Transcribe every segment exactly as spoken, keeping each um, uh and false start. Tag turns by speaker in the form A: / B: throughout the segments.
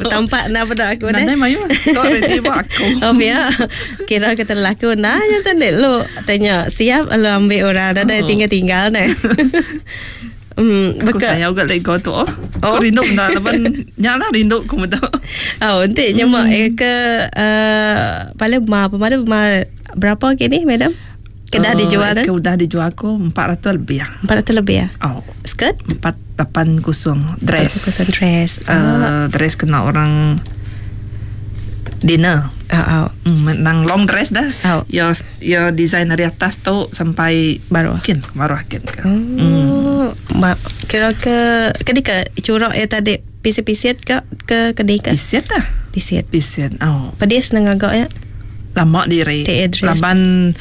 A: Tampak na peda aku deh.
B: Nadai mayuh stok ready ba aku.
A: Oh ya. Kira kita laku nah nya tadi lu tanya siap lu ambil orang nadai
B: Oh.
A: tinggal-tinggal deh. Hmm,
B: Aku
A: beka.
B: sayau gak let go tu. Oh.
A: Oh.
B: Aku rindu benda laban nya lah rindu ku meda.
A: Oh, nanti nyemak eh, ke uh, paling ma pemadu ma berapa kini madam? Kedah
B: Eh,
A: dijual
B: Ke
A: kan?
B: udah dijual aku empat ratus lebih.
A: Empat ratus lebih ya?
B: Oh.
A: Skirt?
B: Empat lapan kosong dress.
A: Kosong dress.
B: Uh,
A: Ah,
B: dress kena orang dinner.
A: oh, oh.
B: Hmm, nang long dress dah.
A: Oh.
B: Ya ya design dari atas tu sampai
A: Baru.
B: Mungkin baru akin ke. Hmm.
A: Oh, ma, kira ke ke ke curak ya tadi pisi-pisi ke ke ke ni ke?
B: Pisit lah.
A: Pisit.
B: Pisit. Oh.
A: Pedis nang agak ya.
B: Lama diri.
A: Tik dress.
B: Laban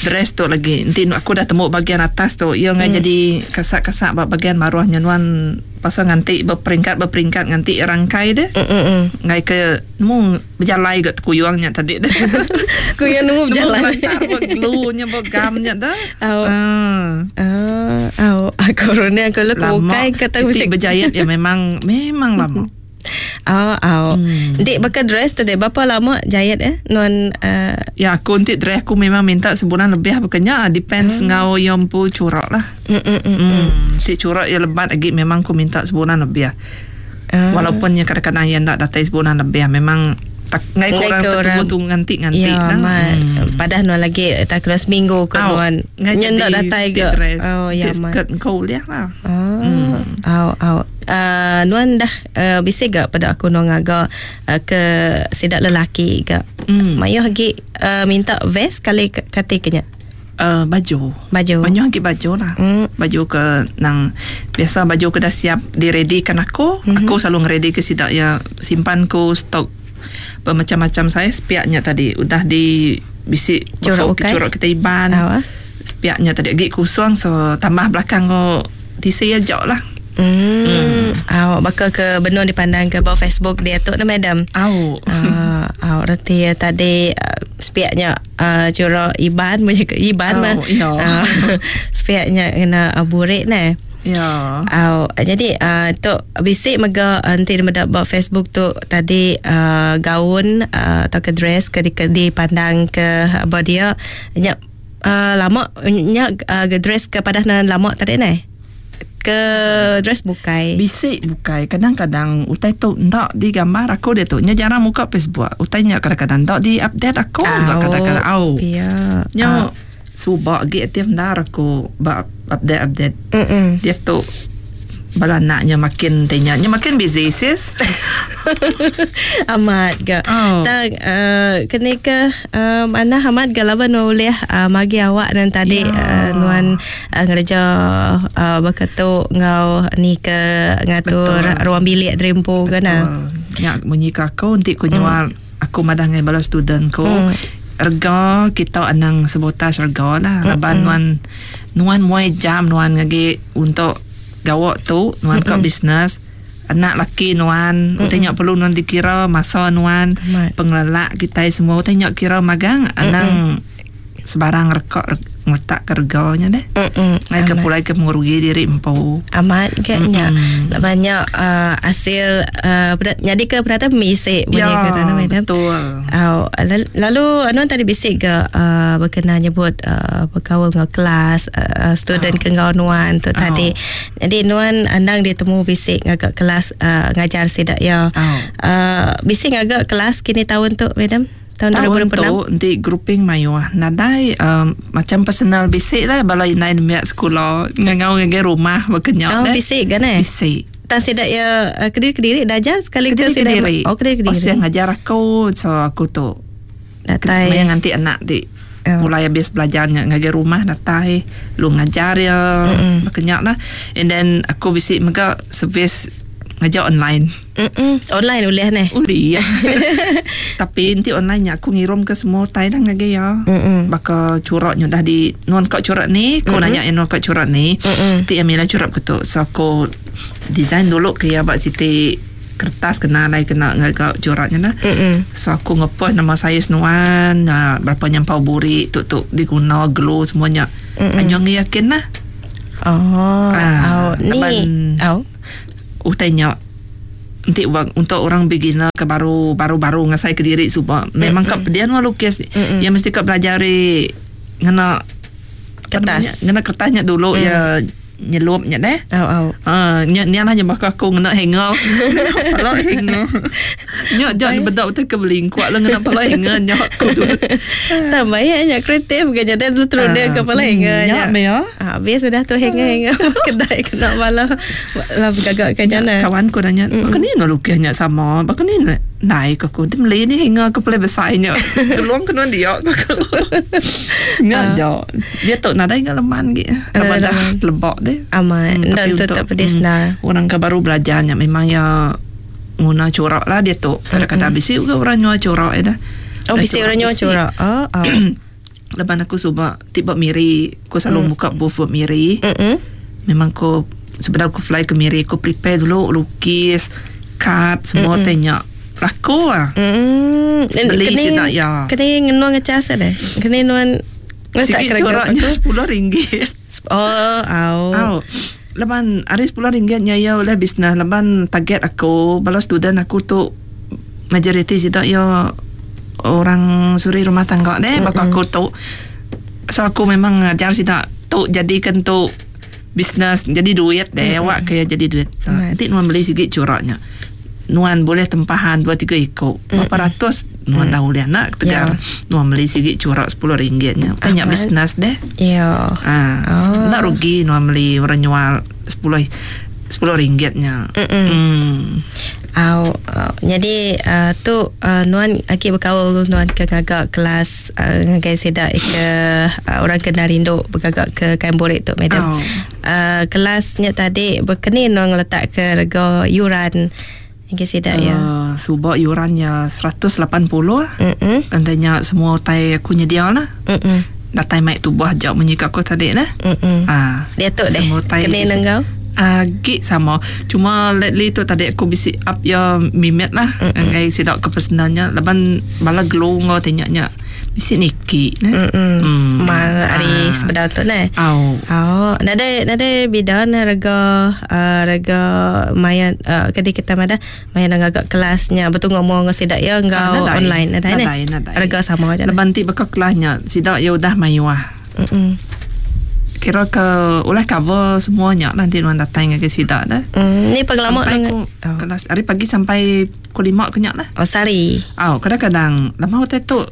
B: dress tu lagi. Nanti aku dah temu bahagian atas tu. Ia ngai hmm. jadi kasak-kasak ba bahagian maruahnya nuan pasal nganti berperingkat berperingkat nganti rangkai deh.
A: Mm mm. mm.
B: Ngai ke nemu berjalai gak kuyuangnya tadi deh.
A: Kuyang nemu berjalai.
B: Nemu glue-nya bergamnya dah.
A: Oh.
B: Ah.
A: Ah, oh, aku runa aku lu
B: Lama.
A: bukai kata
B: Siti
A: musik.
B: berjayat ya memang memang lama.
A: Oh, oh.
B: Hmm.
A: Dik bakal dress tadi berapa lama jahit eh? Non uh,
B: Ya aku nanti dress aku memang minta sebulan lebih bukannya depends hmm. ngau yang pu curak lah.
A: mm mm mm.
B: Hmm. Nanti curak ya lebat lagi memang aku minta sebulan lebih.
A: Ah.
B: Walaupun ya kadang-kadang yang tak datang sebulan lebih memang tak ngai
A: Ngai
B: kurang
A: ke orang.
B: tertunggu nganti-nganti
A: Ya,
B: lah.
A: mat.
B: Hmm.
A: Padah nuan lagi tak kena seminggu ke
B: Au,
A: nuan.
B: ngai
A: Nyen
B: jadi
A: tak datai
B: tik
A: ke.
B: Dress,
A: Oh, ya,
B: tik
A: mat.
B: skirt kau lihat lah.
A: Ah,
B: Hmm.
A: au au. Uh, nuan dah uh, bisik gak pada aku nuan agak uh, ke sidak lelaki gak.
B: Hmm.
A: Mayuh lagi uh, minta vest kali kati kenya.
B: Uh, baju.
A: Baju.
B: Banyak lagi baju lah.
A: Hmm.
B: Baju ke nang biasa baju ke dah siap direadykan aku. Mm-hmm. Aku selalu ngeready ke sidak ya simpan ku stok bermacam-macam saiz piaknya tadi udah di bisik
A: Curak ukai?
B: curak kita iban.
A: Au, ah.
B: Piaknya tadi lagi kosong so tambah belakang ko T C aja lah.
A: Hmm. hmm. Au bakal ke benung dipandang ke bawah Facebook dia tu nah madam.
B: Au.
A: Ah, uh, reti ya tadi uh, sepiaknya uh, curak iban punya ke iban
B: Oh,
A: mah.
B: ya.
A: Ah, sepiaknya kena uh, burik nah.
B: Ya.
A: Au, jadi uh, tu bisik mega uh, nanti dia medak buat Facebook tu tadi uh, gaun uh, atau ke dress ke di, ke dipandang ke apa dia nya uh, lama nya uh, dress ke padah nan lama tadi neh ke dress bukai.
B: Bisik bukai kadang-kadang utai tu ndak digambar aku dia tu nya jarang muka Facebook utainya kadang-kadang ndak di update aku
A: Au,
B: kadang-kadang au.
A: Pia.
B: Nya subak gi aktif ndar aku ba update update.
A: Mm-mm.
B: Dia tu bala anaknya makin tanya nya makin busy sis.
A: Amat ga.
B: Oh.
A: Tak uh, kena ke uh, mana amat ga laban ulih uh, magi awak dan tadi
B: Ya.
A: uh, nuan uh, ngereja uh, berketuk ngau ni ke ngatur
B: Betul.
A: ruang bilik derimpu ke nah.
B: Nya munyi ke aku nanti ku nyual aku madah ngai bala student ku.
A: Mm.
B: Rega kita anang sebutas rega lah. Laban nuan nuan muai jam nuan ngagi untuk gawak tu nuan mm kau bisnes anak laki nuan mm utainya perlu nuan dikira masa nuan
A: Amat.
B: pengelelak kita semua utainya kira magang anang sebarang rekok ngeletak ke reganya deh.
A: Mm-mm.
B: Ngai ke
A: Amat.
B: pulai ke mengurugi diri empu.
A: Amat kayaknya
B: Mm-mm.
A: banyak uh, hasil uh, jadi ke penata misik punya
B: Ya,
A: ke dalam madam.
B: betul.
A: Oh, lalu anu tadi bisik ke uh, berkenaan nyebut uh, berkaul dengan kelas uh, student oh. ke ngau nuan tu
B: Oh.
A: tadi. Jadi nuan andang ditemu bisik ngagak kelas uh, ngajar sidak ya.
B: Oh.
A: Uh, bisik ngagak kelas kini tahun tu madam? Tahun,
B: Tahun
A: dua ribu dua puluh enam.
B: tu nanti grouping mayuh nadai um, macam personal bisik lah bala inai nemiak sekolah ngangau ngagai rumah berkenyok
A: Oh,
B: deh.
A: bisik kan eh?
B: Bisik.
A: Tan sidak ya uh, kediri-kediri dah ajar sekali ke sidak.
B: Kediri-kediri.
A: Oh, kediri-kediri.
B: Oh, siang ngajar aku so aku tu
A: Datai.
B: Maya nganti anak di
A: Oh.
B: mulai habis belajarnya ngajar rumah datai lu ngajar ya
A: Mm-mm.
B: berkenyak lah and then aku bisik mega servis ngajar online
A: Mm-mm. Online ulih neh.
B: Uli ya. Tapi nanti online nya aku ngirum ke semua tai dah ngagai ya.
A: Mm-mm.
B: Baka curaknya dah di nuan kau curak ni, kau nanya yang nuan kau curak ni.
A: Mm-mm.
B: Nanti Amila curak ke tu. So aku design dulu ke ya bak siti kertas kena lai kena ngagak curaknya lah.
A: Mm-mm.
B: So aku ngepost nama saya senuan, nah, berapa nyampau buri tu tu diguna glue semuanya.
A: Mm-mm.
B: Anyong yakin lah.
A: Oh,
B: Ah,
A: au ni.
B: laban-
A: Au.
B: Utainya Nanti untuk orang beginner ke baru baru-baru ngasai ke diri suba memang kau dia nu lukis ya mesti kau belajar ngena
A: kertas
B: ngena kertasnya dulu mm. ya nyelupnya deh.
A: Oh oh.
B: Ah, nya nya lah nyebak aku ngena hanger. Pala hanger. Nya jangan bedak betul ke belingkuak lah ngena pala hanger nya aku tu.
A: Tambah ya nya kreatif ke nya dulu terus dia ke pala hanger
B: nya. Nya
A: ah, habis sudah tu hanger-hanger kedai kena bala lah gagak ke nya.
B: Kawan ku nanya, "Baka ni nak lukisnya sama, baka ni naik aku. Dia beli ni hanger ke pala besar nya. Tolong kena dia aku." Nya jo. Dia tu nadai ngalaman ge. Tambah dah lebak deh.
A: Amat. Hmm, dan tetap pedis lah.
B: Orang ke baru belajarnya memang ya guna corak lah dia tu. Kadang-kadang bisi juga orang nyua corak ya dah.
A: Oh, bisi orang nyua corak. Oh, oh.
B: Lepas aku suba tiba Miri, aku selalu mm. buka booth buat Miri.
A: Mm-mm.
B: Memang aku sebelum aku fly ke Miri, aku prepare dulu lukis, kad semua tanya. Laku lah.
A: Mm.
B: Beli sidak ya.
A: Kena ngenuang ngecas deh. Kena nuan
B: sikit coraknya sepuluh ringgit.
A: Oh, au.
B: Au. Leban hari sepuluh ringgitnya ya oleh bisnes. Leban target aku, bala student aku tu majoriti sidak ya orang suri rumah tangga deh, mm-hmm. Baka aku tu. So aku memang ngajar sidak tu jadikan tu bisnes jadi duit deh, mm-hmm. Awak kaya jadi duit. So, nanti nuan beli sikit coraknya. Nuan boleh tempahan dua tiga ekor. Berapa mm. ratus nuan mm. tahu dia nak tegar. Yeah. Nuan beli sikit corak sepuluh ringgitnya. Tanya bisnes deh.
A: Ya.
B: Ah. Oh. Nak rugi nuan beli orang jual sepuluh sepuluh ringgitnya.
A: Mm. Au, uh, jadi uh, tu uh, nuan aki berkaul nuan ke gagak kelas uh, ngagai sedak ke uh, orang kena rindu bergagak ke kain borek tu madam.
B: Oh.
A: Uh, kelasnya tadi berkeni nuan letak ke rega yuran Okey sedak ya.
B: Uh, subak yurannya seratus lapan puluh.
A: Mm-mm.
B: Tandanya semua tai aku nyedia lah.
A: Mm-mm.
B: Datai mic tubuh jauh menyikap aku tadi lah.
A: Mm-mm.
B: Ah,
A: dia tu deh. Kena nenggau.
B: Ah, gig sama. Cuma lately tu tadi aku bisi up ya mimet lah. Ngai sidak ke pesenannya laban bala glow ngau tanyanya. Bisi niki
A: ne. Mm. Mal hari sebedau tu ne.
B: Au.
A: Oh, nade nade bida na rega uh, rega maya uh, kadi kita mada maya nang agak kelasnya betul ngomong ngau sidak ya ngau ah, online nadai ne. Rega sama aja.
B: Laban ti bakal kelasnya sidak ya udah mayuah.
A: Mm.
B: Kira ke ulah cover semuanya nanti nuan datang ke sidak dah.
A: Mm, ni pengalaman
B: nang oh. Kelas hari pagi sampai pukul lima kenyak lah.
A: Oh, sari.
B: Oh, kadang-kadang lama hotel tu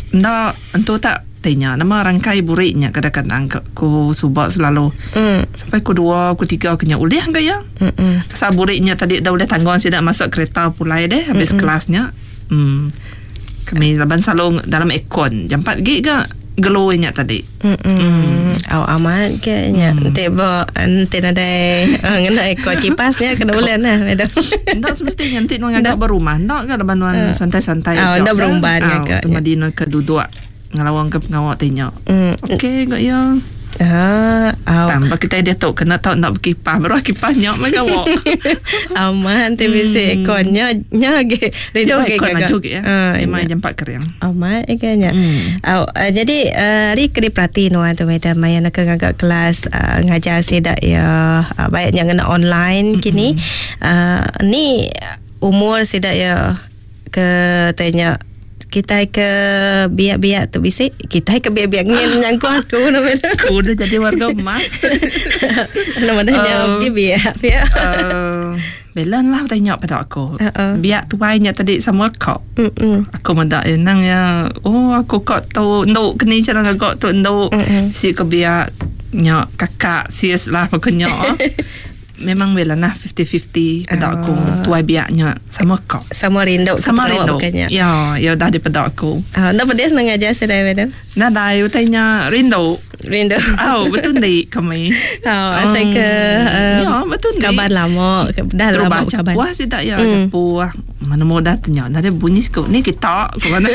B: ndak entu tak tanya nama rangkai buriknya kadang-kadang ku subak selalu.
A: Mm.
B: Sampai ku dua, ku tiga kena ulih ke ya.
A: Mm.
B: Pasal buriknya tadi dah boleh tanggung sidak masuk kereta pulai deh habis
A: Mm-mm.
B: kelasnya. Hmm. Kami laban selalu dalam aircon. Jam empat gig ke geloinya tadi.
A: Mm. Mm. Aw amat ke nya. Nanti bo nanti nadai ngena aircon kipasnya kena bulan lah madam.
B: Ndak semestinya nanti nuan agak berumah ndak ke laban nuan santai-santai
A: aja. Ndak berumban
B: agak. Cuma di nuan ke duduk ngelawang ke pengawak tanya. Okey gak ya.
A: Ah, aw.
B: Tambah kita dia tu kena tahu nak berkipas baru kipasnya mai gawak.
A: Aman ti bisi airconnya nya ge. Rindu ge
B: gagak. Maju ge ya. Memang jam empat kering.
A: Aman ikanya. Aw, uh, jadi uh, hari kena perhati nuan tu madam maya nak ngagak kelas uh, ngajar sedak ya uh, baiknya ngena online kini. Uh, ni umur sedak ya ke tanya kita ke biak-biak tu bisik kita ke biak-biak ngin nyangku aku nama
B: aku udah jadi warga emas
A: nama dah jawab uh, biak biak
B: uh, belan lah tanya pada aku
A: uh-uh.
B: Biak tuainya tadi sama kau
A: Mm-mm.
B: Aku mendak nang ya oh aku kok tu nduk keni cara ngagak tu nduk si ke biak nya kakak sis lah pokoknya memang belan lah fifty-fifty pada aku
A: uh,
B: tuai biaknya sama kau
A: sama rindu
B: sama rindu
A: bukannya.
B: Ya ya dah daripada aku
A: ah uh, dah pedes nang ajar sedai madam
B: nah dah tanya rindu
A: rindu
B: oh betul ni kami
A: oh asal um, ke um,
B: ya betul ni
A: kabar lama dah lama kabar
B: wah sidak ya cepu mm. Mana mudah tanya dah ada bunyi sikit ni kita ke mana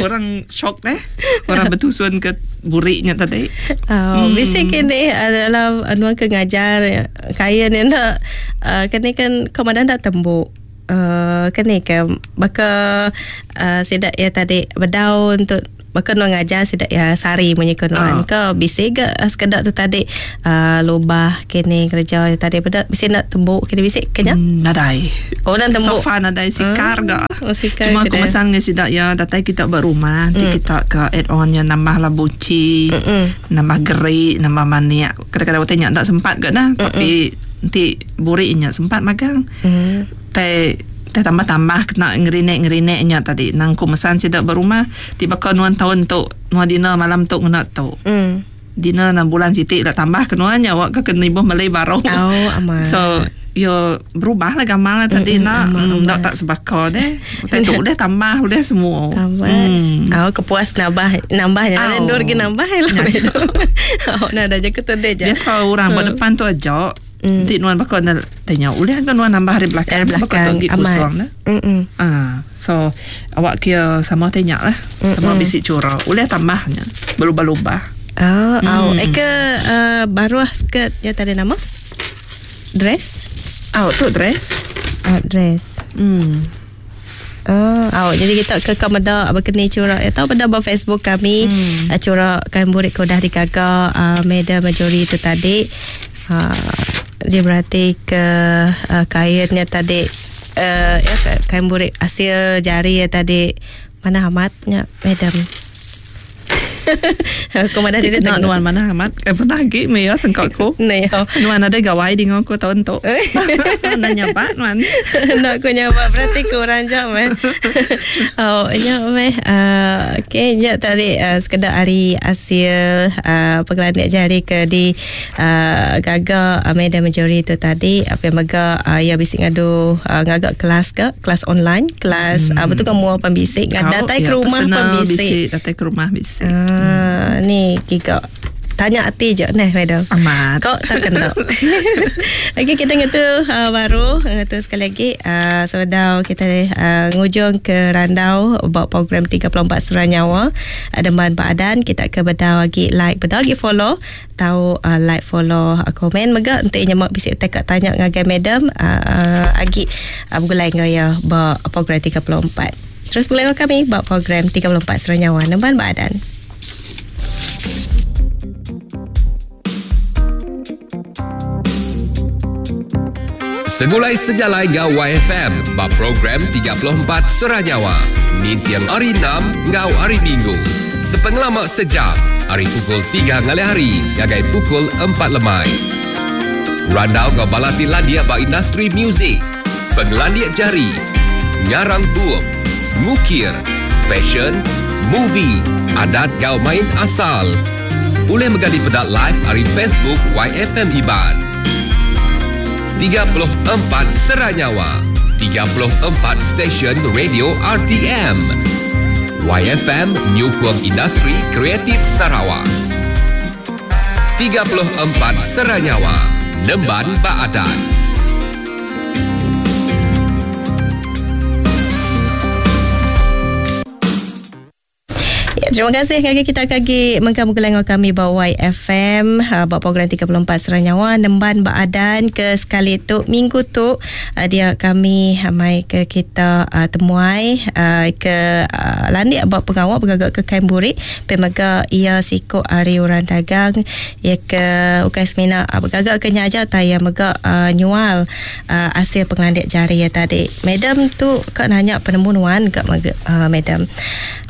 B: orang shock deh orang bertusun ke buriknya tadi
A: oh hmm. Bisa kini adalah anuan ke ngajar kaya ni nak uh, kini kan komandan dah tembuk uh, kini ke baka uh, sidak ya tadi bedau untuk Bahkan nuan ngajar sidak ya sari munyi ke nuan oh. Ke bisi ke sekedak tu tadi uh, lubah kini kerja tadi pada bisi nak tembuk kini bisi kenya
B: mm, nadai.
A: Oh dan tembuk.
B: Sofa nadai sikar
A: hmm.
B: Ga.
A: Oh, sikar.
B: Cuma aku mesan dengan sidak ya datai kita berumah nanti mm. kita ke add on nya nambah lah buci,
A: Mm-mm.
B: nambah gerik, nambah maniak. Kadang-kadang waktu tak sempat ke dah, tapi nanti buriknya sempat magang.
A: Mm.
B: Teh teh tambah-tambah kena ngerinek-ngerineknya tadi. Nang ku mesan sidak berumah tiba ke nuan tahun tu, nuan dinner malam tu kena tu.
A: Mm.
B: Dinner enam bulan sitik dah tambah ke nuan nya awak ke kena ibuh Malay baru.
A: Oh, amat.
B: So yo berubah lah gamal lah tadi nak mm, tak tak sebakar deh. Udah tu udah tambah udah semua.
A: Tambah.
B: Mm.
A: Oh, kepuas nambah nambahnya.
B: Oh.
A: Ndur gi nambah lah. Oh, nah dah je ketede je.
B: Biasa orang buat depan tu aja.
A: Mm.
B: Nanti nuan bakal nak tanya udah kan nuan nambah hari belakang.
A: Hari belakang
B: bakal kosong dah.
A: Mm-mm.
B: Ah, so awak kira sama tanya lah. Sama bisik curah. Udah tambahnya. Berubah-ubah.
A: Oh,
B: mm.
A: oh. Eh ke uh, baru skirt ya tadi nama? Dress?
B: Oh, tu dress.
A: Oh, dress.
B: Hmm.
A: Oh, oh, jadi kita ke kamada berkeni curak atau pada ba Facebook kami
B: hmm.
A: uh, curak kain burik ke dah digaga uh, Madam Majori tu tadi. Uh, dia berarti ke uh, kainnya tadi uh, ya kain burik hasil jari ya tadi mana amatnya madam. Aku mana dia
B: nak nuan mana amat eh pernah lagi me ya sengkok ku.
A: Nah yo.
B: Nuan ada gawai di ngau ku tahun tu. Nanya pak nuan.
A: Nak ku nyapa berarti kurang jam meh. Oh nya meh uh, okey nya tadi uh, sekedar hari hasil uh, pengelandik jari ke di uh, gaga uh, Madam Majori tu tadi apa yang mega uh, ya bisik ngadu uh, ngagak kelas ke kelas online kelas
B: hmm.
A: uh, betul kan mua pembisik
B: oh,
A: datai
B: ya,
A: ke rumah pembisik
B: bisik, datai ke rumah bisik.
A: Uh, Hmm. Ni giga tanya hati je neh madam.
B: Amat.
A: Kok tak kena. Okey kita ngetu uh, baru ngetu sekali lagi uh, sebedau kita uh, ngujung ke randau buat program tiga puluh empat Surah Nyawa ada man badan kita ke bedau lagi like bedau lagi follow tahu uh, like follow uh, komen mega entik nyemak bisik tekak tanya ngagai madam uh, uh, agi uh, bergulai ngau ya buat program tiga puluh empat. Terus bergulai kami buat program tiga puluh empat Surah Nyawa Nemban Badan.
C: Segulai sejalai ngau Y F M bab program tiga puluh empat Surah Nyawa. Nintiang hari enam ngau hari Minggu. Sepengelamak sejam, hari pukul tiga ngalih hari, gagai pukul empat lemai. Randau ngau balati landia ba industri muzik, penglandia jari, ngarang bup, ngukir, fashion, movie, adat gau main asal. Boleh menggali pedak live hari Facebook Y F M Iban. tiga puluh empat Serah Nyawa, tiga puluh empat Stesen Radio R T M. Y F M Nyukung Industri Kreatif Sarawak. tiga puluh empat Serah Nyawa, Nemban Baadan.
A: Ya, terima kasih kaki kita kaki mengkamu kami bawa Y F M uh, buat program tiga puluh empat Serah Nyawa Nemban Baadan ke sekali tu minggu tu uh, dia kami mai ke kita uh, temuai uh, ke uh, landik buat pengawal bergagak ke kain burik pemega ia siko ari orang dagang ia ke ukai semina uh, bergagak ke nyaja taya mega uh, nyual uh, hasil pengelandik jari ya tadi. Madam tu kak nanya penemu nuan kak uh, madam.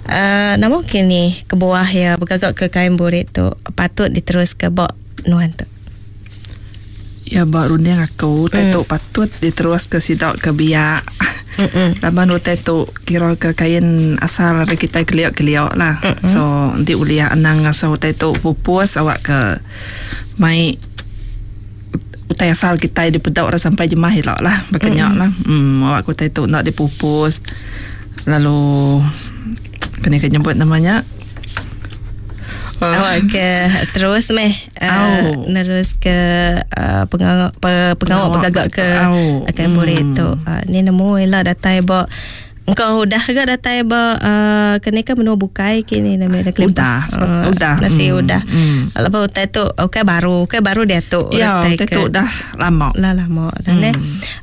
A: Uh, nama kini kebuah ya bergagak ke kain burik tu patut diterus ke bak nuan tu.
B: Ya bak runding aku mm. tu patut diterus ke sidak ke biak. Laban utai tu kira ke kain asal dari kita keliak-keliak lah.
A: Mm-mm.
B: So nanti uliah anang asal utai tu pupus awak ke mai utai asal kita dipedak orang sampai jemah hilak lah berkenyak lah. Hmm, awak utai tu nak dipupus lalu kena kena nyebut namanya.
A: Uh. Awak ke terus meh uh,
B: oh.
A: Terus ke uh, pengawal pe, pengawal pegagak ke
B: oh.
A: akan boleh
B: hmm.
A: tu uh, ni nemu lah datai bak Engkau udah ke datai ba uh, kena ke menua bukai kini nama dah
B: udah uh, udah
A: nasi mm. udah. Mm. Lepas utai tu okey baru, okey baru dia tu
B: ya, utai tu dah lama.
A: Lah lama dah hmm. ne.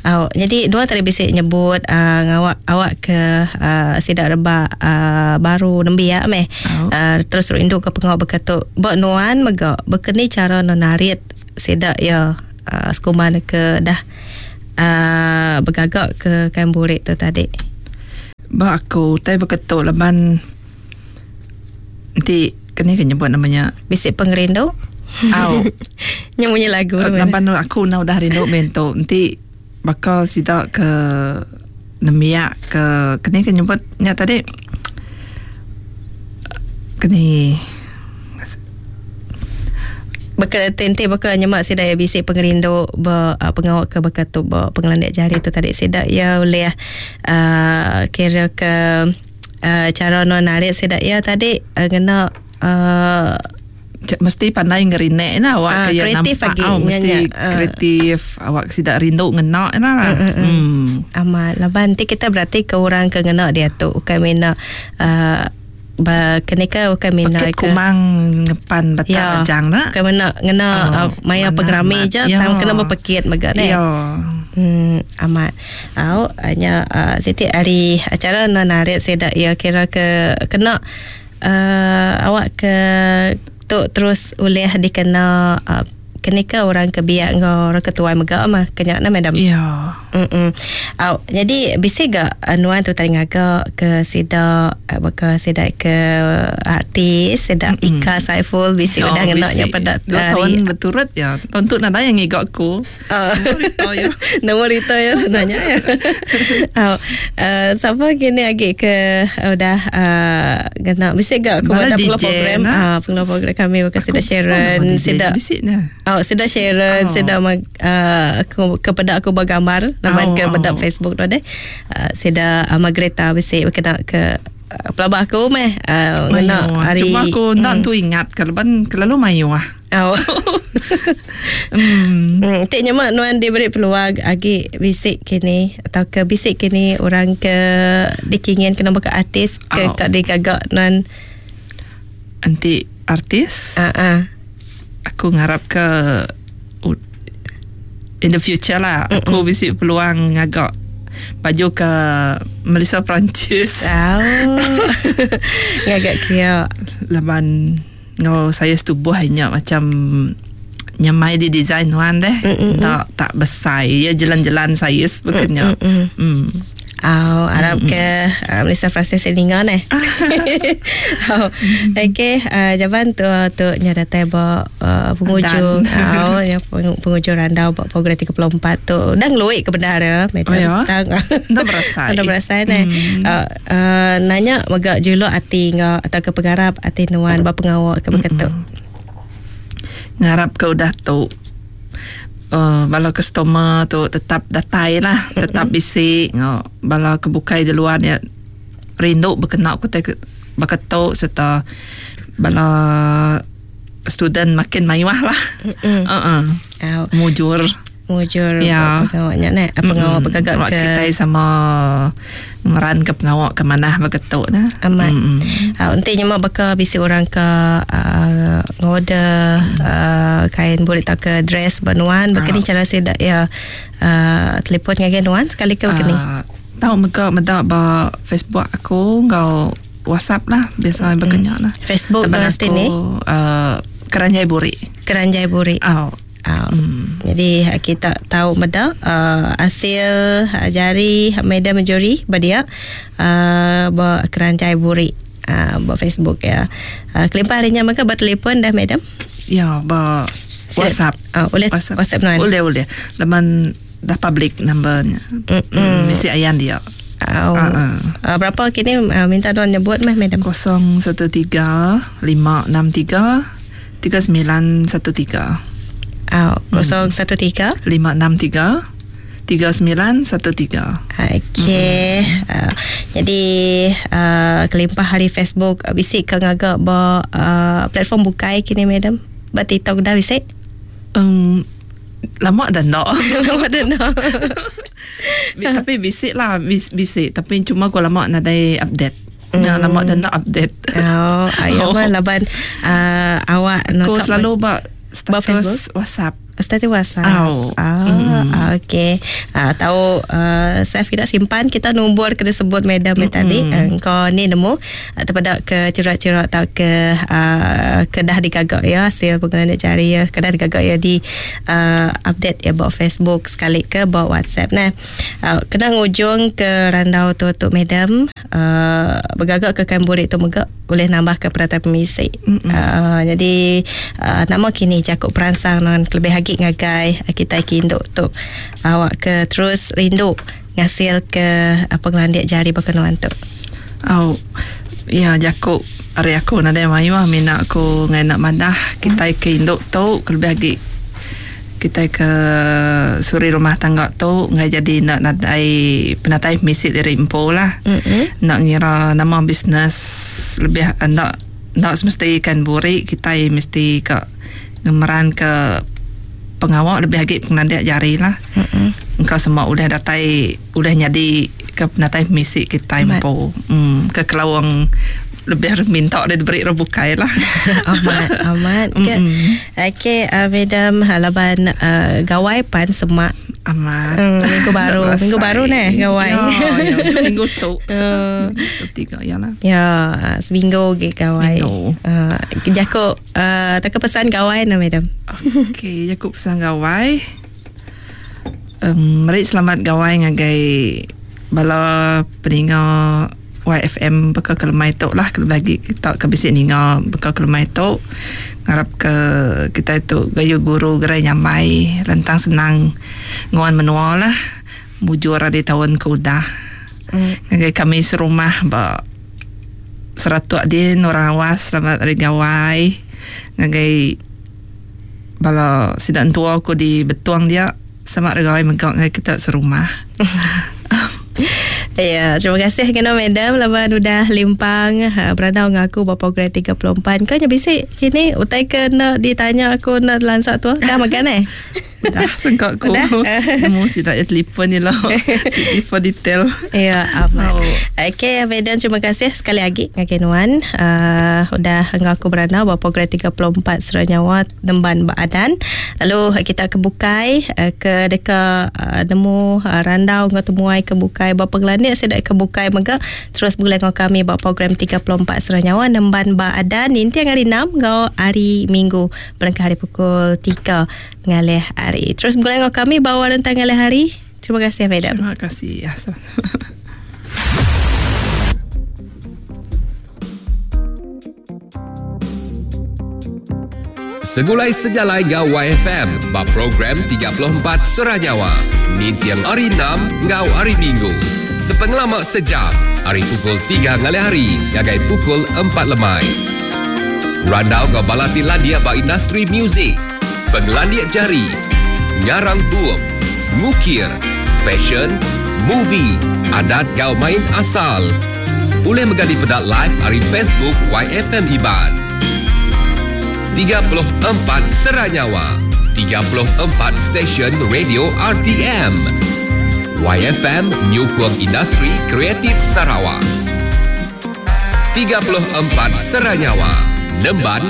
A: Uh, jadi dua tadi bisi nyebut uh, ngawak awak ke uh, sidak rebak uh, baru nembiak meh. Oh. Uh, terus rindu ke pengawak beketuk. Ba nuan mega bekeni cara narit sidak ya uh, sekuman ke dah uh, bergagak ke kain burik tu tadi.
B: Ba aku tai beketuk laban nanti kena kena nyebut namanya
A: bisik pengerindu.
B: Au.
A: Nyanyi lagu
B: laban aku na udah rindu mento nanti bakal sidak ke nemiak ke kena kena nyebut nya tadi kena
A: bakal tente bakal nyemak sida ya bisik pengerindu ba uh, pengawak ke bakal tu ba pengelandik jari tu tadi sida ya oleh uh, kira ke uh, cara non narik sida ya tadi uh, ngena uh,
B: mesti pandai ngerinek nah awak
A: uh,
B: kaya
A: kreatif
B: nampak
A: lagi,
B: oh, mesti
A: nya, nya.
B: kreatif uh, awak sida rindu ngena nah lah.
A: Uh, uh, uh. Hmm. Amat laban nanti kita berarti ke orang ke ngena dia tu bukan mina uh, ba kenika bukan mina
B: ke kumang ngepan batak
A: ya,
B: ajang nak
A: bukan mina ngena oh, uh, maya pengerami je
B: ya.
A: Tang kena berpekit mega ne
B: ya.
A: Hmm amat au hanya uh, siti hari acara narik sedak ya kira ke kena uh, awak ke tu terus oleh dikena uh, kenika orang ke biak ngau orang ketua mega mah kenyak na madam.
B: Ya.
A: Mm. Au jadi bisi ga nuan tu tadi ngaga ke sida baka sida ke artis sida mm-hmm. Ika Saiful bisi
B: oh,
A: udah ngena nya pada
B: dua tahun berturut ya. Tahun tu nada yang ngigak aku.
A: Uh.
B: Nombor itu ya.
A: Nombor itu ya sebenarnya ya. Au uh, siapa kini lagi ke udah uh, ngena bisi ga aku ada program ah uh, program kami baka sida Sharon sida
B: bisi nah.
A: Oh, sudah Sharon,
B: oh.
A: sudah uh, aku kepada aku bergambar laman
B: oh,
A: ke
B: oh.
A: bedak Facebook tu deh. Uh, sudah uh, Margareta bisi kena ke uh, pelabak aku meh uh, ngena hari
B: cuma aku nak mm. tu ingat keleban kelalu mayu ah.
A: Oh.
B: Hmm.
A: Hmm, tik nyemak nuan diberi peluang agi bisik kini atau ke bisik kini orang ke dikingin kena buka artis ke
B: oh.
A: kat digagak nuan
B: anti artis.
A: Ah uh, ah. Uh.
B: Aku ngarap ke in the future lah. Mm-mm. Aku bisi peluang ngagak baju ke Malaysia Perancis.
A: Oh. Ngagak kia.
B: Laban ngau saya setubuh hanya macam nyamai di design wan deh.
A: Mm-mm.
B: Tak tak besar. Ya jalan-jalan saya sebagainya.
A: Mm. Oh, harap mm-hmm. ke uh, Malaysia Francis Selinga ni. Oh, okey, uh, jawapan tu tu nya datai ba uh, penghujung. Oh, nya penghujung randau ba program tiga puluh empat tu. Dah ngeluik ke benda ya,
B: oh, ya?
A: Tang.
B: Dah berasai.
A: Dah berasai ni.
B: Mm.
A: Uh, uh, nanya mega juluk ati ngau atau ke pengarap ati nuan ba pengawak ke beketuk.
B: Mm-hmm. Ngarap ke udah tu Uh, bala customer tu tetap datai lah, tetap bisi ngau bala kebukai di luar ya rindu berkena ku te beketuk serta bala student makin mayuah lah.
A: Mm-mm.
B: Uh-uh.
A: Uh,
B: mujur
A: mujur
B: ya.
A: Pengawaknya ne pengawak bergagak
B: ke
A: ke
B: kita sama meran ke pengawak ke mana beketuk nah.
A: Amat.
B: Mm-mm.
A: Uh, nanti nyemak bakal bisi orang ke uh, ngorder
B: mm.
A: uh, kain burik atau ke dress banuan begini
B: uh.
A: cara sedak ya uh, telefon dengan nuan sekali ke begini.
B: Uh, tahu mega meda ba Facebook aku ngau WhatsApp lah biasa mm. berkenyak lah.
A: Facebook
B: mesti
A: ni
B: uh, Keranjai Burik.
A: Keranjai Burik.
B: Oh.
A: Uh,
B: hmm.
A: Jadi kita tahu meda uh, hasil uh, jari media menjuri badia uh, ba Keranjai Burik uh, ba Facebook ya. Uh, kelimpah harinya maka bertelefon dah madam?
B: Ya, ba WhatsApp.
A: Uh, boleh WhatsApp, WhatsApp nuan.
B: Boleh boleh. Laman dah public numbernya.
A: Mm-mm.
B: Mm, mesti ayan dia.
A: Uh,
B: uh-uh.
A: uh, berapa kini uh, minta tuan nyebut meh madam?
B: kosong satu tiga lima enam tiga tiga sembilan satu tiga.
A: Oh, kosong satu tiga
B: lima enam tiga tiga sembilan satu tiga.
A: Okey.
B: Hmm.
A: Uh, jadi uh, kelimpah hari Facebook uh, bisik ke ngagak ba uh, platform bukai kini madam? Ba TikTok dah bisik?
B: Um, Lama dah nak.
A: Lama dah nak.
B: Tapi bisik lah, bis, bisik. Tapi cuma aku lama nadai update. Mm. Nah, lama dah nak update.
A: Oh, ayah oh. Mah laban uh, awak
B: aku selalu buat status WhatsApp.
A: Status WhatsApp. Oh. Ah, mm. Okey. Ah, tahu uh, save kita simpan kita nombor kena sebut madam mm-hmm. tadi. Engkau ni nemu terpada ke cerak-cerak atau ke uh, kedah digagak ya hasil penggunaan jari ya kedah digagak ya di uh, update ya buat Facebook sekali ke buat WhatsApp nah. Uh, kena ngujung ke randau tu tu madam uh, bergagak ke kamburik tu megak boleh nambah ke perata pemisi. Mm-hmm. Uh, jadi uh, nama kini jakuk perangsang non kelebih lagi ngagai kita kinduk tu awak ke terus rindu ngasil ke apa ngelandik jari berkenuan tu.
B: Oh ya jakuk hari aku nada mayu mina aku ngai nak madah kita ke induk tu kelebih lagi kita ke suri rumah tangga tu ngai jadi nak nadai penatai misi dari empo lah. Mm-hmm. Nak ngira nama bisnes lebih nak nak semesti ikan burik kita mesti ke ngemeran ke pengawak lebih lagi pengandak jari lah. Mm-hmm. Engkau semua udah datai udah jadi ke penatai misi kita empo. Hmm, ke kelawang lebih minta dia beri rebukai lah.
A: Amat, amat. Ke. Okey, uh, madam halaban uh, gawai pan semak.
B: Amat.
A: Hmm, minggu baru, minggu baru ni gawai.
B: Ya, ya, minggu tu. Uh, tiga ya lah.
A: Ya, seminggu ke gawai. Uh, jakuk uh, tak pesan gawai nah madam.
B: Okey, jakuk pesan gawai. Um, meri selamat gawai ngagai bala peninga Y F M bekal kelemai tu lah kalau lagi kita ke bisik ninga bekal kelemai tu ngarap ke kita itu gayu guru gerai nyamai lentang senang nguan menua lah mujur di tahun ke udah mm. Ngagai kami serumah ba seratuk din orang awas selamat hari gawai ngagai bala sidak tua aku di betuang dia selamat hari gawai megak ngagai kita serumah.
A: Ya, terima kasih kena madam laban udah limpang berandau dengan aku buat program tiga puluh empat. Kau nya bisik kini utai ke nak ditanya aku nak lansak tu dah makan eh?
B: Dah sengkak aku. Nemu si tak telefon ni lah. Telefon detail.
A: Ya, amat. Oh. Okey, madam terima kasih sekali lagi dengan Nuan. Uh, udah dengan aku berandau buat program tiga puluh empat Seranyawa Nemban Baadan. Lalu kita ke Bukai ke dekat uh, nemu uh, randau dengan temuai ke Bukai buat pengelanik saya dak ke Bukai mega terus bulan dengan kami buat program tiga puluh empat Seranyawa Nemban Baadan nanti hari enam ngau hari Minggu berangkat hari pukul tiga ngalih hari. Terus bulan dengan kami bawa rentang ngalih hari. Terima kasih madam.
B: Terima kasih. Ya.
C: Segulai sejalai ngau Y F M bab program tiga puluh empat Seranyawa. Nintiang hari enam ngau hari Minggu. Sepengelamak sejam hari pukul tiga ngalih hari ngagai pukul empat lemai. Randau ngau balati landia ba industri muzik, penglandiak jari, ngarang bup, ngukir, fashion, movie, adat gau main asal. Boleh megadi pedak live hari Facebook Y F M Iban. tiga puluh empat Seranyawa, tiga puluh empat stesen radio R T M. Y F M Nyukung Industri Kreatif Sarawak. tiga puluh empat Seranyawa, Nemban